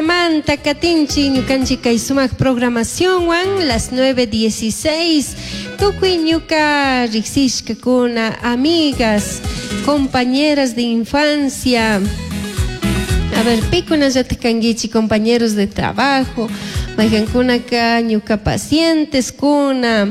Manta katinchik ñukanchik kay sumak programacionwan las 9:16 tukuy ñuka riksishkakuna, amigas, compañeras de infancia. A ver, pikunallatak kankichik compañeros de trabajo, maykankunaka ñuka pacienteskuna,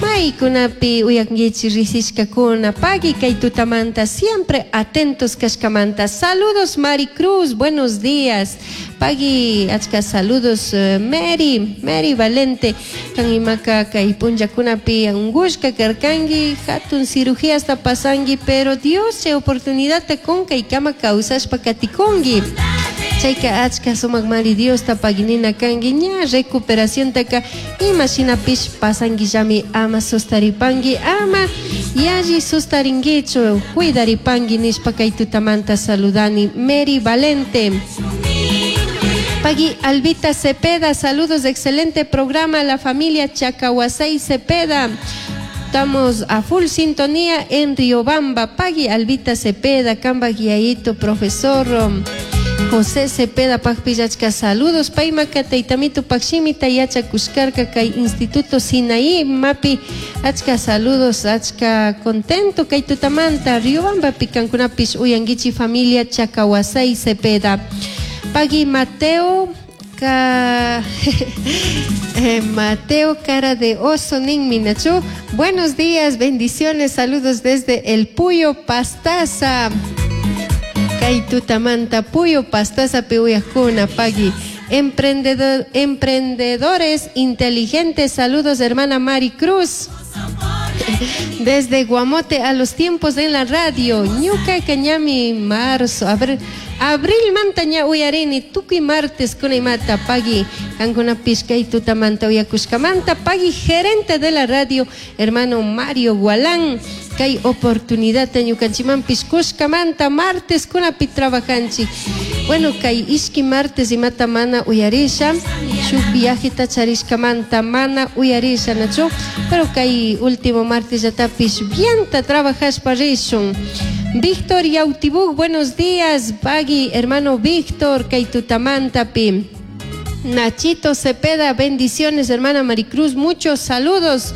maykunapi uyankichik riksishkakuna, pagui kay tutamanta siempre atentos kashkamanta. Saludos Maricruz, buenos días. Pagui achka saludos Mary, Mary Valente, kan imaka kay punllakunapi ungushka karkanki, hatun cirugíasta pasanki, pero Dios chay oportunidadta kun kaykama kawsashpa katikunki. Chayka achka sumak mari Diosta paginina kanki, ña recuperaciontaka ima shinapish pasankillami, ama sustaripanki, ama yalli sustarinkichu, cuidaripanki nishpa kay tutamanta saludani Mary Valente. Pagui Albita Cepeda, saludos, excelente programa, la familia Chacahuasay Cepeda. Estamos a full sintonía en Riobamba. Pagui Albita Cepeda, Camba Guiaito, profesor José Cepeda, Pajpillachka, saludos. Paymaka, Taitamito, Pakshimita, Yacha, Cuscarca, Kay Instituto Sinaí, Mapi, achka saludos, achka contento, kay tutamanta, Riobamba, Picancunapish, Uyanguichi, familia Chacahuasay Cepeda. Pagui Mateo, ka, Mateo Cara de Oso Ninmi Nachu. Buenos días, bendiciones, saludos desde el Puyo Pastaza. Kay tutamanta Puyo Pastaza piuyajkuna, pagui. Emprendedores inteligentes, saludos hermana Mari Cruz. Desde Guamote a los tiempos en la radio, Ñuka Cañami, marzo, a ver, abril manta ña uyarini, tukuy martes kunaymata, pagui, kankunapish kay tutamanta uyakushkamanta, pagui gerente de la radio, hermano Mario Gualán, kay oportunidad ñukanchimanpish kushkamanta, martes kunapi trabajanchik. Bueno, kay ishki martes imata mana uyarisha, shuk viajeta charishkamanta mana uyarisha, nachu, pero kay último martes yatapish bienta trabajashpa rishun. Víctor Yautibuk, buenos días, pagui, hermano Víctor, kay tutamantapi. Nachito Cepeda, bendiciones, hermana Maricruz, muchos saludos.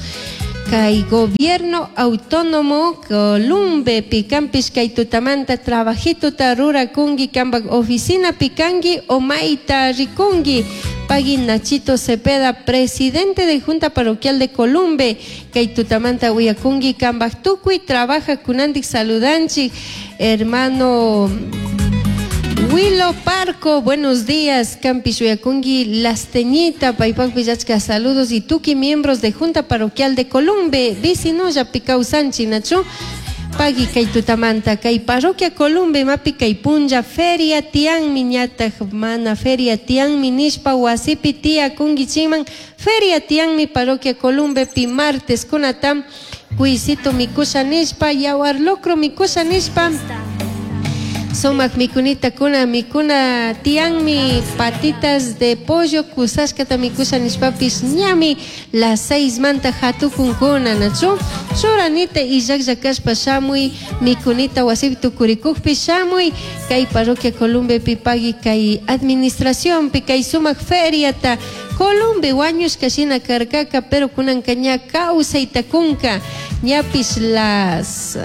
Kay gobierno autónomo Columbe, picampis kay tutamanta trabajito rura kungi kambak oficina picangi o maita rikungi. Pagui Nachito Cepeda, presidente de Junta Parroquial de Columbe, kay tutamanta uyakungi kambak tukuy trabaja kunandik saludanchi, hermano Willo Parco, buenos días, Campi Uyakungi, Lasteñita, Paipak Villachka, saludos y tuki miembros de Junta Parroquial de Columbe, Vicinoya, Picausanchi, Nacho, Pagui, kay tutamanta, kay Parroquia Columbe, Mapi, kay Punja, Feria, Tian, Miñata, Mana, Feria, Tian, Minishpa, Wasipi, Tía, Kungi, Chiman, Feria, Tian, mi Parroquia Columbe, Pi, martes, Kunatam, Cuisito, Mikusha, Nishpa, Yaguar Locro, Mikusha, Nishpa, Sumak mikunita kuna mikuna tianmi patitas de pollo kusashkata mikusha nishpapis ñami las 6 manta hatukunkuna nachu churanita illaklla kashpa shamuy mikunita wasipi tukurikukpi shamuy kay parroquia Columbepi pagui kay administracionpi kay sumak feriata Columbe wañushka shina karkaka pero kunanka ña kawsayta kunka ñapis las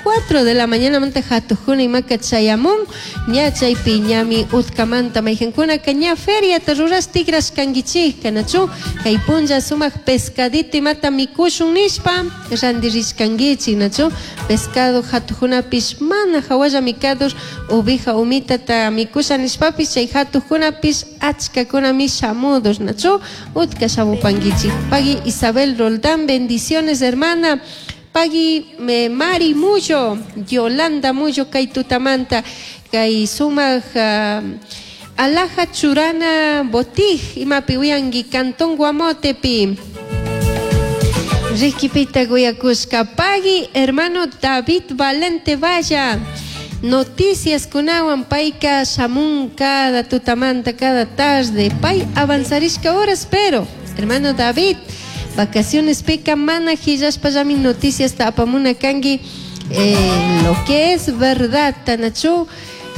4 de la mañana manta hatukuna imaka chayamun ña chaypi ñami utkamanta maykankunaka ña feriata ruras tigras kankichik nachu kay punlla sumak pescadito imata mikushun nishpa randirishkankichik nachu pescado hatukunapish mana hawalla mikadur ovija umitata mikusha nishpapis chay hatukunapish achkakunami shamudur nachu utka shamupankichik. Pagui Isabel Roldán, bendiciones hermana. Pagui Mari Muyo, Yolanda Muyo, kay tutamanta, kay sumak alaja churana botij, imapi uyangi cantón Guamotepi. Riquipita guyakushka, pagui hermano David Valente Valla. Noticias kunawan payka shamun cada tutamanta, cada tarde. Pay avanzarishka horas, pero hermano David, vacaciones pica mana hillashpa llami noticias ta apamuna kangi, lo que es verdad, tanachu.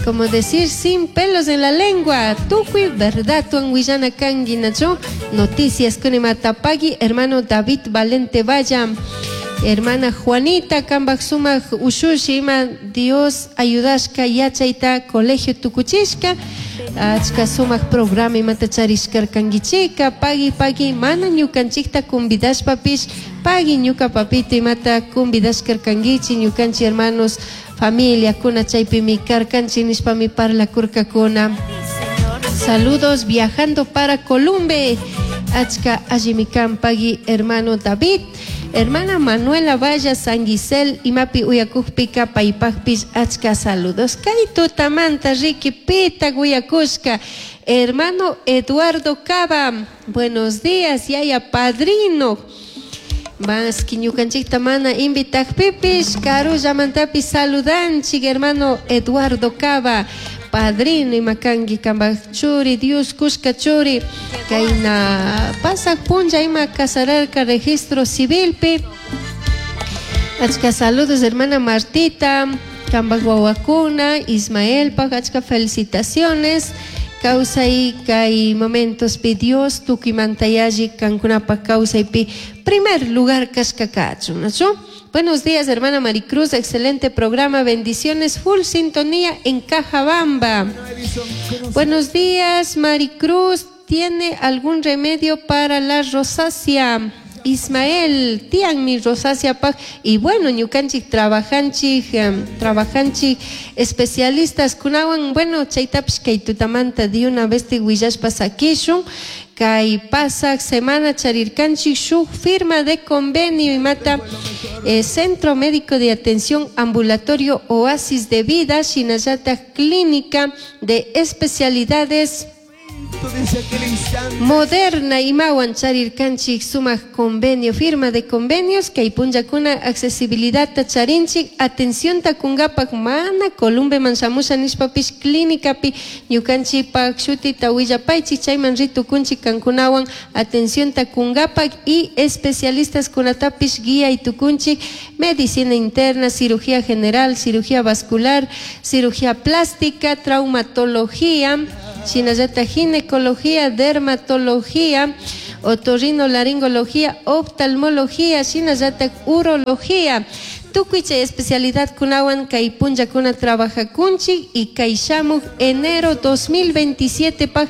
Como decir sin pelos en la lengua, tukuy verdadwan willana kanki nachu? Noticias kunimata pagui hermano David Valente Valla. Hermana Juanita kambaj sumak ushushi ima Dios ayudashka yachayta colegio tukuchishka achka sumak programa imata charishkarkankichika pagui pagui mana ñukanchikta convidashpapish pagui ñuka papito imata convidashkarkankichik ñukanchik hermanos familiakuna chaypimi karkanchik nishpami parlakurkakuna. Saludos viajando para Columbe. Achka allimi kan pagui hermano David. Hermana Manuela Valla San Gisel imapi uyakukpika paypakpish achka saludos. Kay tutamanta riki pitak uyakushka. Hermano Eduardo Cava, buenos días, yaya padrino. Maski ñukanchikta mana invitakpipish karullamantapish saludanchik hermano Eduardo Cava. Padrino ima kanki kambaj churi Dios kushka churi kayna pasak punlla ima casararka registro civilpi. Achka saludos hermana Martita, kambaj wawakuna, Ismaelpaj, achka felicitaciones. Kawsay kay momentospi Dios tukuymanta yalli kankunapaj kawsaypi primer lugar kashka kachun, ¿nachu? Buenos días, hermana Maricruz, excelente programa, bendiciones, full sintonía en Cajabamba. Buenos días, Maricruz, ¿tiene algún remedio para la rosácea? Ismael, tianmi rosácea paj. Y bueno, ñukanchik trabajanchik, trabajanchik especialistas kunawan, bueno, chaytapish kay tutamanta de una vez willashpa sakishun. Kay pasak semana charirkanchik shuk firma de convenio imata Centro Médico de Atención Ambulatorio Oasis de Vida, shinallatak Clínica de Especialidades Moderna imawan charirkanchik sumak convenio, firma de convenios kay punllakuna accesibilidadta charinchik, atencionta kungapak mana Columbeman shamusha nishpapish clínicapi ñukanchikpak shutita willapaychik chayman ritukunchik kankunawan atencionta kungapak y especialistas kunatapish guía tukunchik medicina interna, cirugía general, cirugía vascular, cirugía plástica, traumatología, shinallata ginecología, dermatología, otorrinolaringología, oftalmología, shinallata urología. Tukuy chay especialidad kunawan kay punllakuna trabajakunchik y kay shamuk enero 2027 paj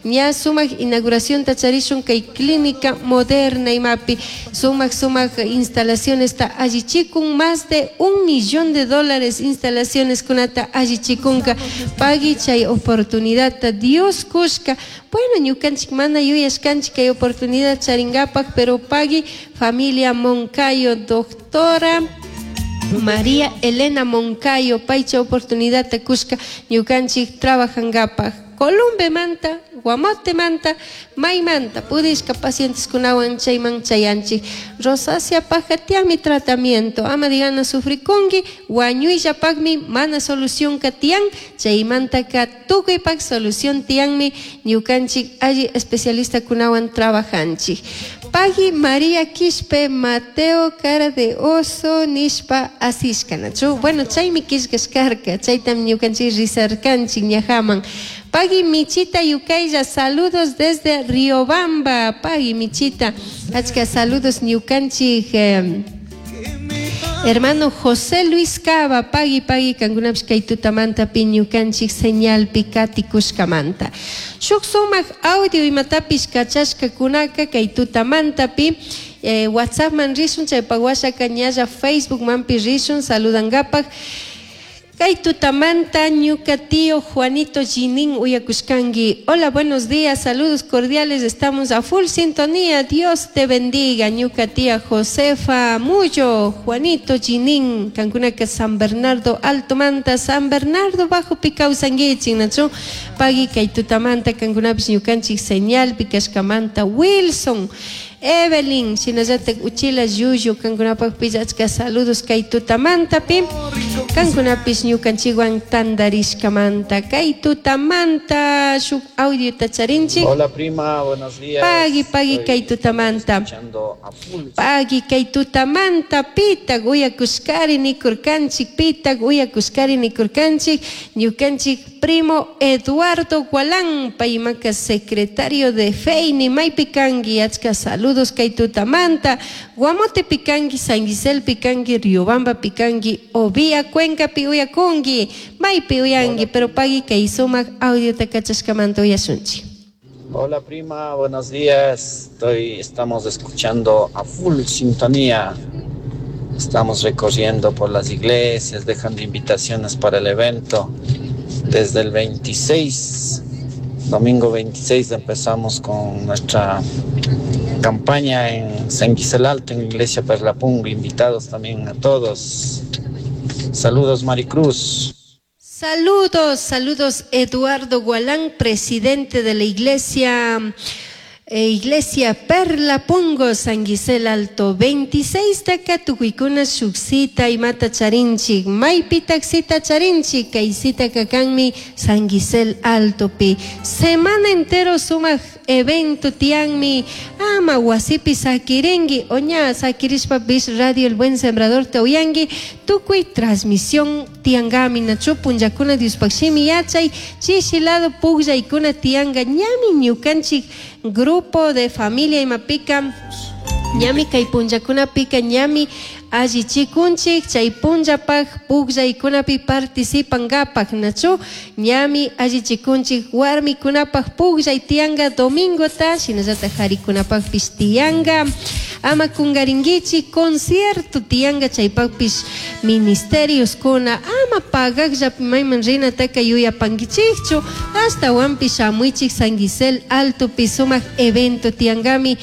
ña sumak inauguración tacharishun kay clínica moderna imapi sumak sumak instalaciones ta allichikun más de $1 millón instalaciones kunata allichikunka pagui chay oportunidad ta Dios kushka. Bueno, ñukanchik mana yuyashkanchik kay oportunidad charingapak, pero pagui familia Moncayo, doctora María Elena Moncayo, paycha oportunidad ta kushka ñukanchik trabajangapak. Columbe manta, Guamote manta, Maymanta, pudishka pacientes kunawan chayman chayanchik. Rosácea pajatiami tratamiento, ama digana sufrikunki, wañuyllapakmi mana solución katian, chaymanta ka tukuypak solución tianmi ñukanchik alli especialista kunawan trabajanchik. Pagui María Quispe, Mateo cara de oso nishpa asishka, nachu? Bueno, chaymi kishkashkarka, chaytam ñukanchik risarkanchik ñajaman. Pagui Michita Yucaylla, saludos desde Riobamba. Pagui Michita, achka saludos ñukanchik, hermano José Luis Cava, pagui pagui kankunapish kay tutamantapi ñukanchik señalpi katikushkamanta. Shuk sumak audio imatapish kachashkakunaka kay tutamantapi WhatsAppman rishun, chaypak washaka ñalla Facebookmanpi rishun saludangapak. Kay tutamanta ñuka tío Juanito Ginin uyakushkanki. Hola, buenos días, saludos cordiales, estamos a full sintonía. Dios te bendiga, ñuka tía Josefa Muyo, Juanito Ginin, kankunaka San Bernardo Alto Manta, San Bernardo Bajo kawsankichik, nachu? Pagui kay tutamanta kankunapish ñukanchik señal pikashkamanta Wilson. Evelyn, shinallatak uchila llullu kankunapakpish achka saludos kay tutamantapi. Kankunapish ñukanchikwan tandarishkamanta kay tutamanta shuk audiota charinchik. Hola prima, buenos días. Pagui, pagui Estoy kay tutamanta. escuchando a full. Pagui kay tutamanta pitak uyakushkari nikurkanchik, pitak uyakushkari nikurkanchik, ñukanchik primo Eduardo Gualán, paymaka secretario de Feini, maypi kanki, achka saludos kay tutamanta, Guamote pikanki, San Gisel pikanki, Riobamba pikanki, Ovia Cuenca pi uyakunki, maypi uyanki, pero pagui kay sumak audiota kachashkamanta uyashunchik. Hola prima, buenos días. Estamos escuchando a full sintonía. Estamos recorriendo por las iglesias, dejando invitaciones para el evento. Desde el 26, domingo 26, empezamos con nuestra campaña en San Gisel Alto, en Iglesia Perlapungo. Invitados también a todos. Saludos, Maricruz. Saludos, saludos Eduardo Gualán, presidente de la Iglesia Perla Pungo, San Gisel Alto, 26 taka tukuykuna shuksita imata charinchik, maypi taxita charinchik, kaysita kakanmi San Gisel Alto pi. Semana entero sumak evento tianmi, ama wasipi sakiringi, oña sakirishpa bis Radio El Buen Sembrador te uyangi, tukuy transmisión tiangami, nachu punllakuna Diospakshimi yachay, chishilado pugllaykuna tianga, ñami ñukanchik grupo de familia imapika, ñami kay punllakunapika, ñami allichikunchik, chay punllapaj pugllaykunapi participangapak, nachu ñami allichikunchik warmikunapaj pugllay tianga domingota, shinallatak harikunapajpish tianga, ama kungarinkichik concierto tianga chaypajpish ministerios kuna, ama pagakllapi mayman rinataka yuyapankichikchu, ashtawanpish shamuychik San Gisel Altopi sumak evento tiangami.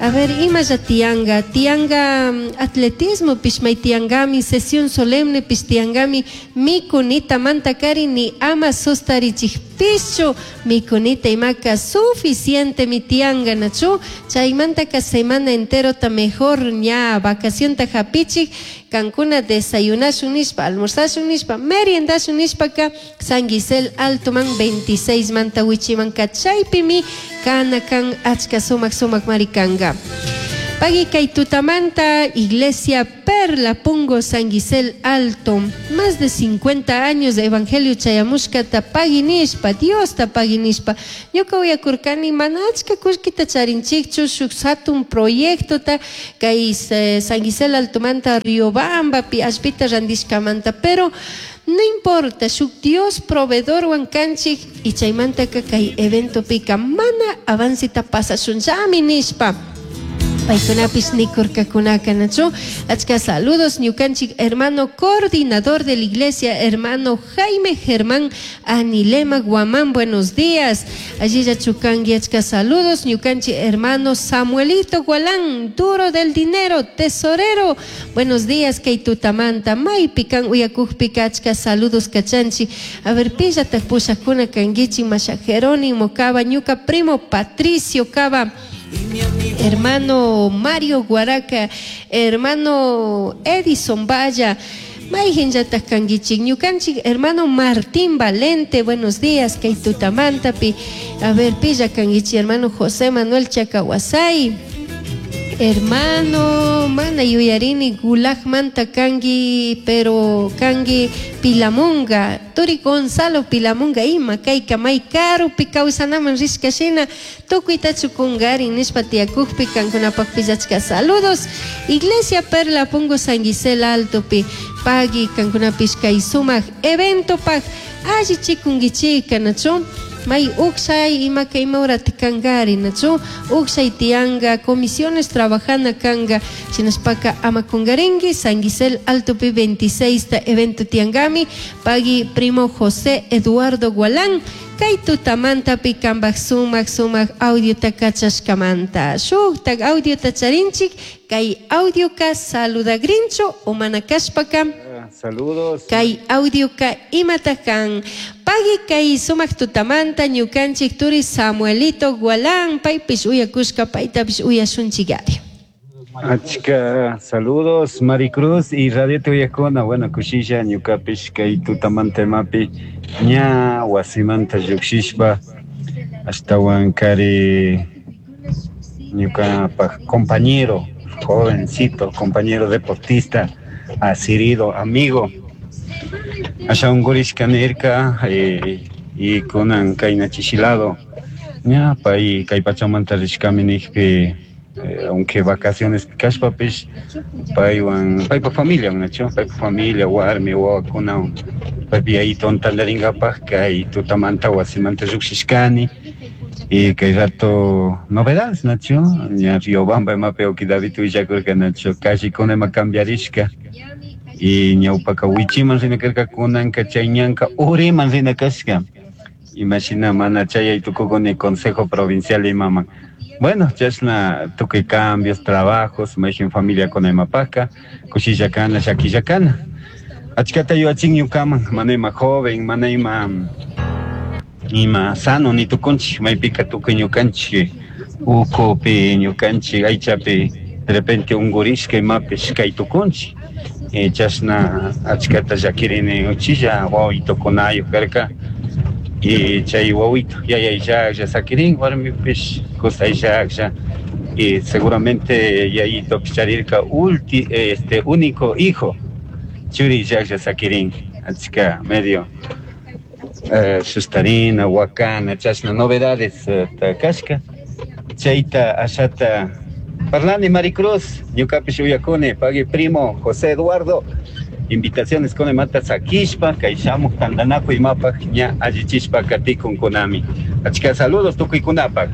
A ver, imalla tianga, tianga atletismo pishmay tiangami, sesión solemne pish tiangami, mikunita mantakari ni ama sustarichikpischu, mikunita imaka suficiente mi tianga nachu, chaymantaka semana enterota mejor ña vacación ta hapichik, kankuna desayunashun nishpa, almorzashun nishpa, meriendashun nishpaka, San Gisel Alto man 26 manta wichimanka chaypimi kana kan achka sumak sumak marikanga. Pagui kay tutamanta, Iglesia Perla Pungo San Gisel Alto, más de 50 años de Evangelio chayamushkata pagui nishpa, Dios ta pagui nishpa. Ñuka uyakurkani mana achka kullkita charinchikchu, shuk hatun proyectota kay San Gisel Altomanta Riobambapi allpita randishkamanta, pero no importa, shuk Dios proveedor wan kanchik y chaymantaka kay evento pika mana avancita pasashunllami nishpa. Paykunapish nikurkakunaka, nachu. Achka saludos, ñukanchik hermano coordinador de la iglesia, hermano Jaime Germán Anilema Guamán, buenos días. Allí ya chukangi, achka saludos, ñukanchik hermano Samuelito Gualán, duro del dinero, tesorero. Buenos días, kaytutamanta, maypikan uyakujpika, achka saludos kachanchi. A ver, pillatak pushakuna kanguichi, masha Jerónimo Cava, ñuka primo Patricio Cava. Hermano Mario Guaraca, hermano Edison Valla, mayhinllatak kanguichik, ñukanchik, hermano Martín Valente, buenos días, kaytutamantapi. A ver, pilla kanguichi, hermano José Manuel Chacahuasay, hermano mana yuyarini gulag manta kangi, pero kangi Pilamunga, turi Gonzalo Pilamunga, ima kayka may karupi kawsanaman rishkashina, tukuytachu kungari nishpa tiyakukpi kankunapaq pillachka saludos. Iglesia Perla Pungo San Gisel Altopi, pagui kankunapish kay sumak eventopaq allichikunkichika, nachu? May ukshay imaka imawrata kankari, nachu? Ukshay tianga, comisiones trabajana kanga, shinashpaka ama kungaringi, San Gisel Altopi 26 ta evento tiangami, pagui primo José Eduardo Gualán, kay tutamantapi kambaj sumak sumak audio ta kachashkamanta. Shuktak audio ta charinchik, kay audio ka saludagrincho o manakashpaka. Saludos. Kay audioka imataq kan? Pagui kay sumaq tutamanta ñukanchik turi Samuelito Gualán paypish uyakushka, paytapish uyashunchik ari. Achka saludos Maricruz y Radio Tuyakuna. Bueno, kushilla ñukapish kay tutamanta imapi ña wasimanta llukshishpa ashtawan kari ñukapaj compañero, jovencito, compañero deportista, asirido, amigo. Asha unkurishka nirka y kunan kayna chishilado ña pay kay pachamanta rishkami nijpi, aunque vacaciones kashpapish paywan paypa familia, nachu paypa familia, warmi wawakunawan paypi yayituwan tantarinkapaj kay tutamanta wasimanta llukshishkani. Y kay rato novedades, nachu ña Riobamba imapi wawki David willakurka, nachu callecuna ima cambiarishka y ñawpaka wichiman rina karka, kunanka chay ñanka uriman rina kashka, imashina mana chayay tukukuni consejo provincial imaman. Bueno, chashna tukuy cambios, trabajos, mayjin familiakuna imapaka kushilla kana, llakilla kana. Achkata yuyachin ñukaman, mana ima joven, mana ima sano ni tukunchik, maypika tukuy ñukanchik ukupi, ñukanchik aychapi de repente unkurishka imapish kay tukunchik. Chashna achkata llakirini uchilla wawitukunayuk karka y chay wawito yayayllaklla sakirin, warmipish kusayllaklla y seguramente yayitopish charirka ulti, este único hijo churillaklla sakirin. Achka medio sustarina, wakana, chashna novedades kashka. Chayta ashata parlani Maricruz, ñukapish uyakuni, pagui primo José Eduardo, invitaciones con mata sakishpa, kay shamuj tantanakuy imapaj ña allichishpa katikunkunami. Achka saludos tukuykunapaj.